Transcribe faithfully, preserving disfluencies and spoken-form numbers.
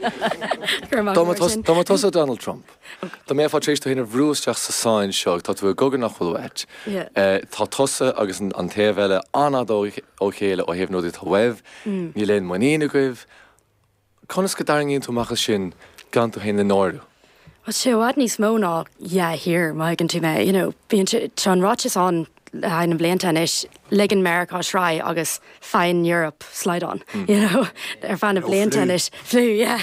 Dá mba tusa Donald Trump. Dá mbeifeá tar éis tú féin a bhrú isteach sa sáinn seo tá tú i gcogadh nach bhfuil uait. Tá tusa agus an taobh eile an-fhada ó chéile ó thaobh na rudaí atá uaibh, níl aon muinín agaibh. Conas go dtarraingíonn tú amach as sin gan tú féin a náiriú? Well sé i bhfad níos mó ná dhá thír má thuigeann tú mé, you know, bíonn tá an ráiteas ann le haghaidh na blianta anois, ligeann Meiriceá sraith agus faigheann Europe slaghdán, you know, ar feadh na blianta anois. Fliú, yeah.